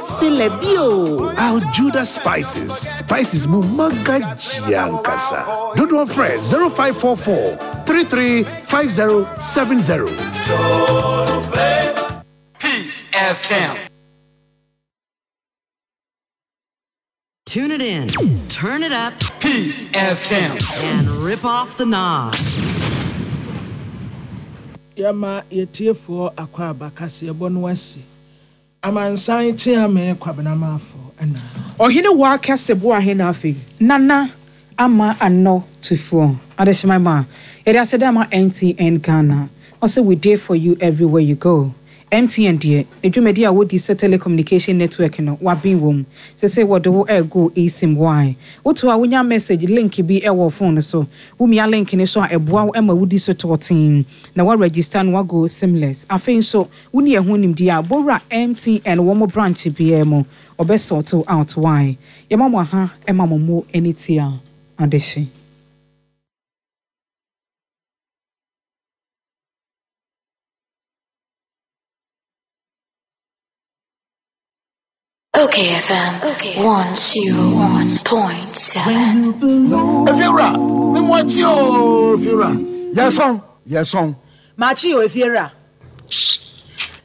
Favorite filler bio. Al Judah Spices, spices mu magaji ankasa. Dodoɔ frɛ 0544 335070. Peace FM. Tune it in, turn it up, Peace FM, and rip off the knob. Yɛma yɛtiefoɔ akwaaba kaseɛbɔ no asi. Amansan Kyeame Kwabena Marfo na. Ɔhene waa kɛse boa he na afei. Nana Ama Anɔ Tufuo Adehyema ma yɛde aseda ma MTN Ghana ɔsɛ we dey for you everywhere you go MTN deɛ ne dwumadi a wɔdi sɛ telecommunication network no waben wom sesei wɔde wo ɛɛgo eSIM why woto a wonya message link bi ɛwɔ phone no so womia link no so a ɛboa wo ma wodi so tɔɔtee na wa register na wago simless afei nso Wonni ɛho nimdeɛ a, bɔ wura MTN wɔn branch biara mu, wɔbɛ sort wo out why? Yɛma mo aha ma mo mo ani tua adehye. Okay FM 101.7. Efiewura, me mo akyi o, Efiewura. Yɛsɔn, yɛsɔn. Makye o, Efiewura.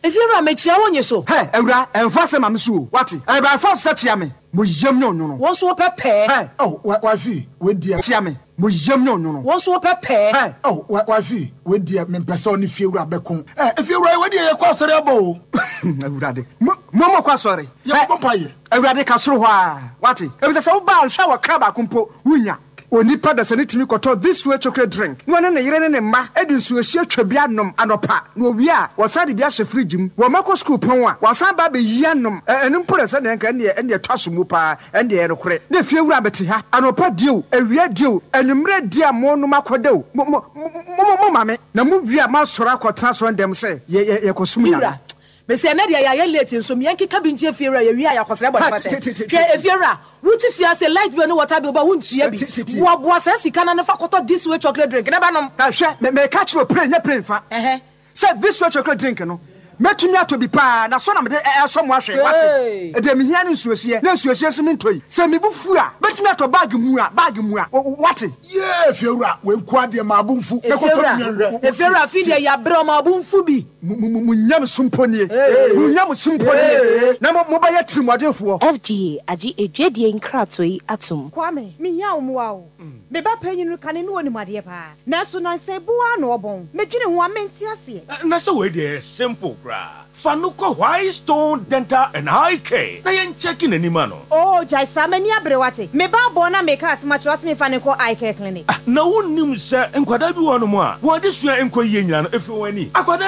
Efiewura, mekyia wo nye so. Hɛ, awura, ɛmfa asɛm ma me so o, wate? Ɛyɛ by force sɛ kyea me, mo yam nyɛ onwono. Wo nso wopɛ pɛɛ. Hɛ, oh, wifey, wei deɛ. Kyea me, mo yam nyɛ onwono. Wo nso wopɛ pɛɛ. Hɛ, oh, wifey, wei deɛ mempɛ sɛ ɔne fiewura bɛko. Ɛ, efiewura, wei deɛ yɛkɔ asɔre aba o. Awurade, mo, mo mokɔ asɔre. Yɛkɔbɔ mpaeɛ. Awurade, ka soro hɔ ara, wate? Efisɛ sɛ woba a, nhwɛ a wɔkra baako mpo, wunnya. Onipa dasani tumi kɔtɔ This Way chocolate drink na ɔne ne yere ne ne mma de nsuohyeɛ twa bi anom anɔpa, na wɔwie a, wɔsan de bi ahyɛ fridge mu. Wɔn mma kɔ sukuu pɔn a, wɔasan aba abɛyi anom. Ɛ, ɛno mpo na sɛdeɛ anka ɛnneɛ, ɛnneɛ ɛtɔ asom mu paa. Ɛndeɛ ɛyɛ nokorɛ. Na efiewura bɛte ha, anɔpa die o, awia die o, anwummerɛ die a monom akɔda o, mo, mo, mo, mo, mo ma me. Na mowie a, moasɔre akɔtena asɔrendɛm sɛ yɛ, yɛ, yɛkɔsom Me Nyame. wura, mese ɛnɛ deɛ yɛayɛ late nso me yɛnkeka bi nkyerɛ fiewura yɛwie a yɛakɔsrɛ Ha, bɔne ti, ti, fakyɛ. ti, ti, Hwɛ ti. efiewura, wote fie ase light bill ne water bill ba wontua bi. Ti, ti, ti. Boaboa saa sika no ano fa kɔtɔ this way chocolate drink na bɛnom. Na hwɛ, me, meka kyerɛ wo pray, nyɛ pray mfa. Ɛhɛ. Sɛ this way chocolate drink no, mɛtumi atɔ bi paa, na sɔ na mede ɛsɔ mo ahwɛ, wate? Deɛ mehia ne nsuohyeɛ, na nsuohyeɛ nso mentɔ yi. Sɛ me bo fu a, mɛtumi atɔ bag mua, bag mua, wate? Yee, Fiewura, wei nkoa deɛ maa bo mfu. Mɛkɔtɔ Efiewura, bi nhwɛ. Efiewura, afei deɛ yɛabrɛ ɔma bo mfu bi. Mo, mo, mo nyamesom mpo nie, mo nyamesom mpo nie, na mo, mobɛyɛ tirimuɔdenfoɔ. FDA agye adwadie nkratoɔ yi atom. Kwame, mehia wo mmoa o. Me ba panyin no, kane no onim adeɛ paa. Nanso nansa yi bo ara na ɔbɔn. Medwene ho a, mente aseɛ. Na sɛ wei deɛ ɛyɛ simple koraa. Fa no kɔ White Stone Dental and Eye Care na yɛn kyɛke n'ani ma no. Oo gyae saa, m'ani abere wate. Me ba abɔn na meka asɛm akyerɛ wo ase memfa no nkɔ Eye Care Clinic. Ah, na wonnim sɛ nkwadaa bi wɔ hɔnom a wɔn adesua nkɔ yie nyinaa no, ɛfiri wɔn ani. Akwadaa.